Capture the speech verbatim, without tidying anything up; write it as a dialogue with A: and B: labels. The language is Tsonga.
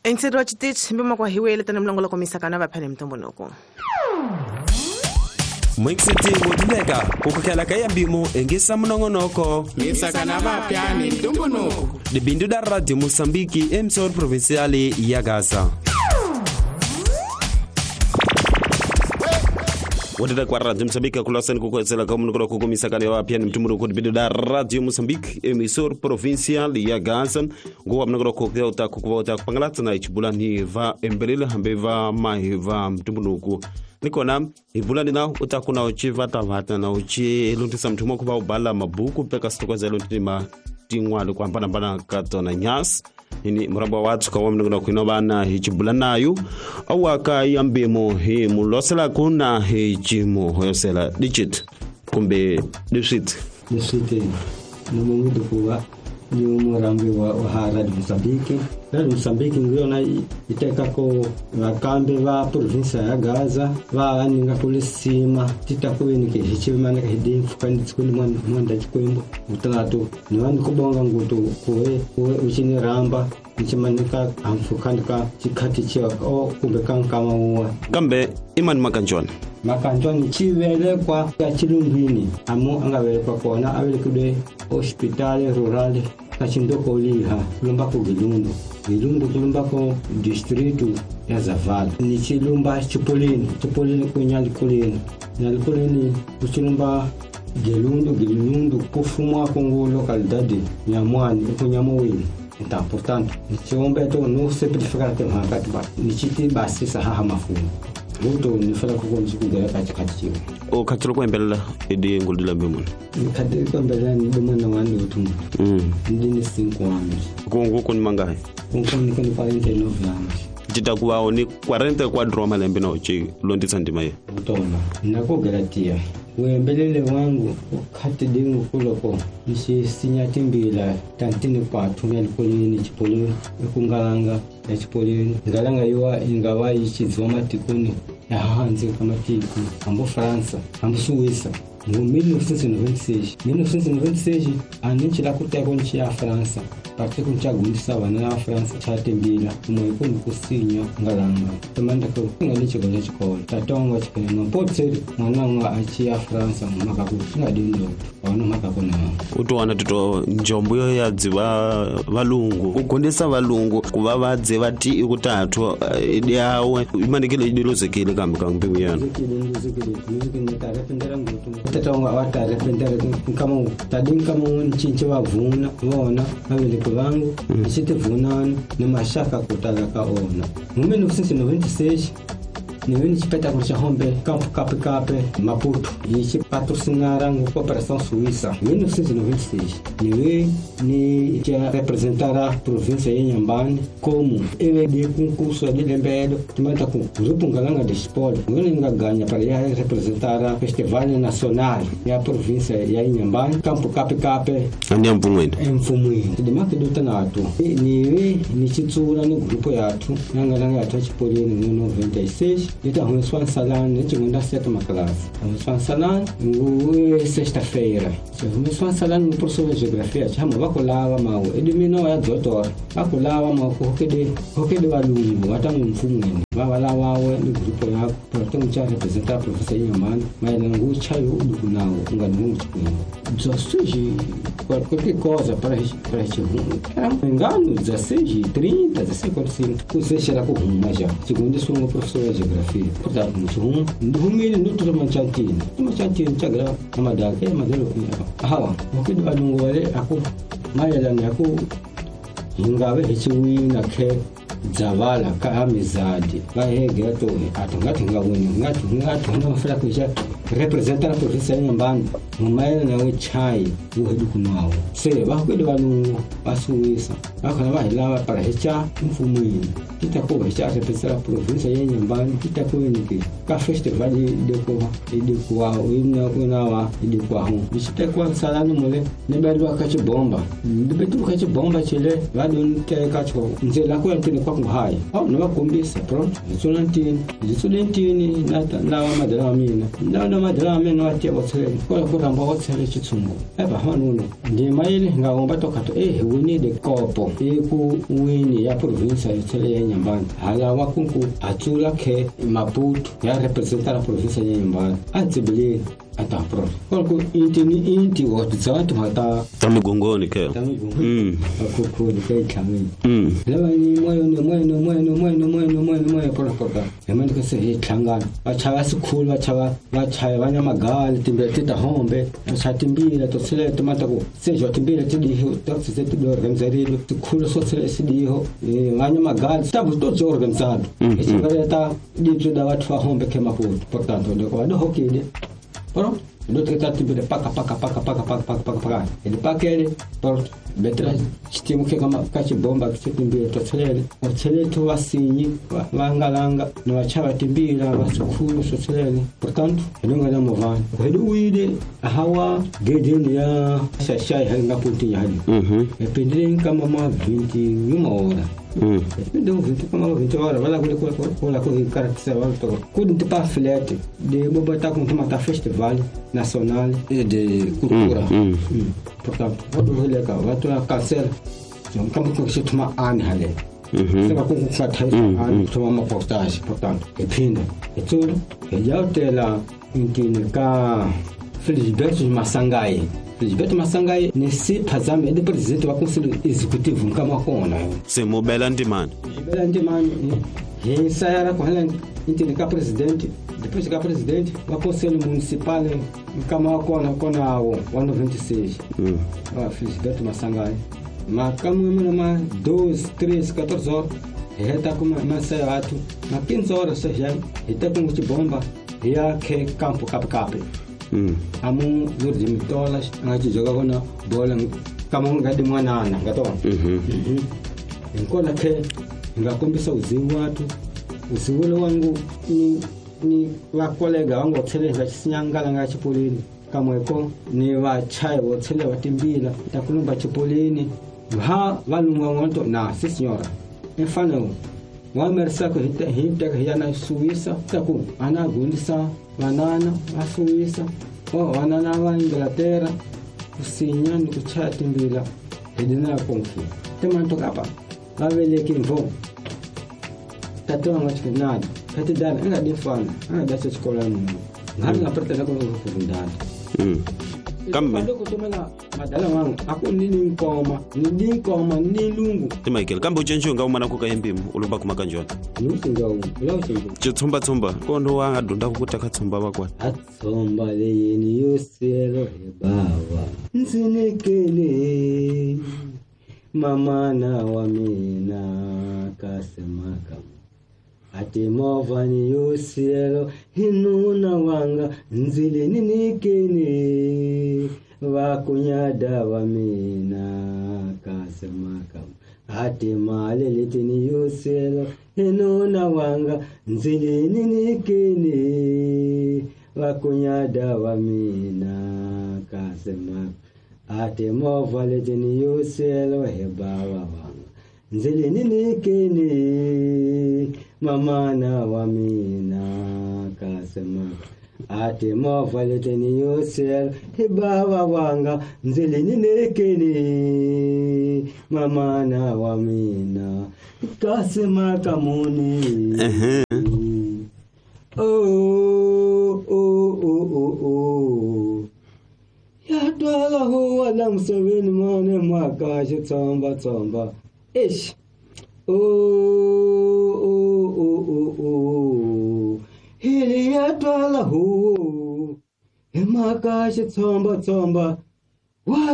A: Entsiri wa xitichi mbima kwa hiwele tani mlongoloko misakana vaphele mtumbuluko.
B: Mwikisiti wotindeka kukukela kaya mbimo engisa mnongonoko
C: misakana vapyani mtumbunuku
B: dibindu da Radio Mozambique emissora provincial ya Gaza. Wotindeka kwa Radio Mozambique kulasani kukwetsela ka munukolo kukumisakana vapyani mtumbunuku dibindu da Radio Mozambique emissora provincial ya Gaza nguwa munukolo kukuta kukuva kupangalatsa na ichibulani va embelele hambe va mahi va mtumbunuku. Nikona ibulani na utakuna uchi vatavata na uchi luntisa mthumo kuva ubala mabuku peka sitokozelo ntima tingwalo kwambana bana katona nyas ini muramba wathu ka wamnukuna kuino bana hichibulanayu awaka yambimo hi mulosela kuna hichimo hoyosela digit kumbe digit
D: digit nomungu kuwa ni umurambi wa wa Radio Mozambique. Radio Mozambique ngiyona iteka ko vakambi va province ya Gaza va aninga kulisima titakuweni ke hichimana ke hidimfu kandi tsikuni mwanda chikwembo utatu ni wani kubonga ngutu kuwe kuwe uchini ramba nichimanika amfukandika chikhati chiwa o kumbe kankama uwa
B: kambe imani makanjwana
D: makanjwani chivelekwa ya chilungwini amu angavelekwa kona avelekudwe hospitale rural kachindoko liha kulumba ku Gilundu Gilundu kulumba ko distritu ya Zavala ni chilumba chipolini chipolini kunyalikulini nyalikulini kuchilumba Gilundu Gilundu kufumwa kongo localidade Nyamwani kunyamowini. Então, portanto, nichiombe to no simplificar te makati ba nichiti basisa haha mafumu nguto nifala kukonzi kugera kachikati chiwe
B: o khatilo kuembelela edi nguludila mbimuna
D: khatilo kuembelela ni dumana wandi utumbu mm ndini cinco anos
B: kungu kuni mangahi
D: kungu ni kuni quarenta e nove anos
B: titakuwa ni quarenta e quatro malembe na uchi londisa ndima ye
D: utona nakugeratia uembelele wangu ukhati dingu kuloko nishisinya timbila tantini kwathu nyalikolini chipolini ekungalanga ya chipolini ngalanga yiwa ingawa ichidziwa matikuni yahanze kamatiku ambo França ambo Suíça ngo mil novecentos e noventa e seis mil novecentos e noventa e seis anichi la kuteko nchi ya França parti kunchagundisa vana la França chatembila umwe kuni kusinya ngalanga tamanda ko nganichi gola chikolo tatonga chikene potseri mwana nga achi ya França makaku ngadindo wana makakona
B: utowana tito njombo yo ya dziva valungu kugondesa valungu kuva vadze vati ikutatu idyawe imanikile idilozekile kambe kambe yana
D: tatonga watarependera nkama tadinka mu nchinchi vavuna vona vaveleki vangu nichitivunana ni maxaka ku tala ka ona mu mil novecentos e noventa e seis ni ni xipetakulo xa hombe campo Cape Cape Maputo yi xi patrocinara ngu cooperação Suíça mil novecentos e noventa e seis ni ni xa representara província ya Inhambane como ele de concurso de lembelo timata ku grupo ngalanga de sport ngone nga ganha para ya representara festival nacional ya província ya Inhambane campo Cape Cape
B: ani mfumwini
D: emfumwini de makedutanato ni ni xitsula ni grupo yathu ngalanga yathu chipolini mu noventa e seis Então, um salão, segunda sétima classe. Um salão, sexta-feira. Um salão no professor de geografia, chama vakulava mau. Edimino ya doutor. Vakulava mau hokede hokede valungu, watangu mfumweni. Vavalava ni grupo yako, portanto cha representar professor Inhambane, mas não chayo udukunawo, unganungu chikwembo. dezesseis qualquer coisa para para era um engano, dezesseis e trinta, dezesseis e quarenta e cinco. Você será com uma já. Segundo sou um professor de geografia. Portanto, um dormir no outro manchantino. Manchantino chagra, amadake, amadelo. Ah, o que do alungo ale aku maya na aku ingabe hichiwina ke Zavala ka amizade vai regato atungati ngawini ngati ngati ngafela kuja representa a província ya Inhambane mumaela na uchai uhedu kunawo se vakwedi valungu va Suíça vakhona va hi lava para hicha mfumwini titakuva hicha representa a província ya Inhambane titakuweni ke Ka festival de ko de ko ina unawa de ko hu nishite nsalani mule ne ba ka chibomba ndibetu ka chibomba chile va dun te ka cho nzela ko ntini kwa kuhai au no bakombisa pronto ntsuna ntini ntsuna ntini na na wa madala mina na na madala mina wa te botsele ko ko ramba botsele chitsungu eba hanuno ndi maile ngahomba tokato eh wini de kopo e ku wini ya província yotsele ya Nyambani hala wa kunku atsula ke Maputo ya representar a província ya Nyambani atsibile ata pronto kolko intini inti wa tsatu hata
B: tamugongoni ke
D: mm akoko de kai kami mm lava ni moyo ni moyo ni moyo ni moyo ni moyo ni moyo ni moyo pronto pronto emani ka se hlangana va chava sikhulu va chava va chaya va nyamagali timbila ti ta hombe va chaya timbila to tsela tomata ku se jo timbila ti diho to se ti do organizarilo sikhulu so tsela se diho va nyamagali ta bu to jo organizado e se va ta di da va tfa hombe ke Maputo portanto de ko do hokide. Pronto, do outro tipo de paca paca paca paca paca paca paca paca. Ele paquele, pronto, betra timo que kama kachi bomba que timbira to tselele. O tselele to asinyi, langa langa, no achava timbira, vasukulu so tselele. Portanto, ele não ganha movan. Ele uide hawa gedeni ya shashai hanga pontinha ali.
B: Mhm.
D: E pendrem kama uma vinte e uma hora.
B: Mm.
D: Deu vinte como vinte horas, vai lá com com lá com o cara que se vai to. Quando te pa filete, de vou botar com tomar festival nacional de cultura.
B: Mm.
D: Mm. Portanto, vou do ele cá, vai tu cancela. Então, como que se toma an hale.
B: Mhm.
D: Se vai com com tá an toma uma portagem, portanto, e pinda. E tudo, e já tela intine ka Felisberto Massangai. Felisberto Massangai nesse phazame de presidente wa conselho executivo nkama kona.
B: Se mobela ndimani.
D: Mobela ndimani. He sayara com ela intine ka presidente, depois ka presidente wa conselho municipal nkama kona kona wa noventa e seis.
B: Mm.
D: Wa Felisberto Massangai. Makamu ma doze, treze, quatorze horas. He tá com uma saia ma quinze horas já. He tá com bomba. E a que campo cap cap.
B: Mm.
D: Amu zurdi mitolas ngaji joga kona bola kama ngadi mwanana ngato.
B: Mhm.
D: Mhm. Nkona ke ngakombisa uziwu watu uziwu wangu ni ni wa kolega wangu otsele ngachisinyangala ngachipulini kamweko ni vachai otsele watimbila takulumba chipulini ha valunga ngonto na si senhora mfano wa mersako hita hita yana Suíça taku ana gundisa vanana va Suíça o vanana va Inglaterra kusinya ni kuchaya timbila hidina konfi temanto kapa va veleki mvo tata wanga chikinada kati dana anga difana anga dasa chikola muno ngani ngapertela ko kufundana
B: mm kambe
D: kutomela madala wangu akunini nkoma ni nkoma ni lungu
B: ti Michael kambe ucenjo nga umana ku kayembimu ulumba kumakanjona
D: nusinga u lawusinga
B: chitsumba tsumba kondo wa adunda kukutaka tsumba vakwana
D: atsomba leyini yoselo he baba nsinekele mamana wa mina kasemaka ati movani yoselo hinuna wanga nzile ninikene vakunyada wa mina kasemaka ati malelitini yoselo hinuna wanga nzile ninikene vakunyada wa mina kasemaka ati movaletini yoselo hebawa wanga nzile ninikene mamana wa mina kasemaka ati movaletini yoselo hebawa wanga nzile ninikene mamana wa mina kasemaka muni. Oh oh oh oh oh yatwala huwa la mseveni mane mwaka tsamba tsamba ish oh oh oh oh oh hili yatwala huwa mwaka tsamba tsamba wa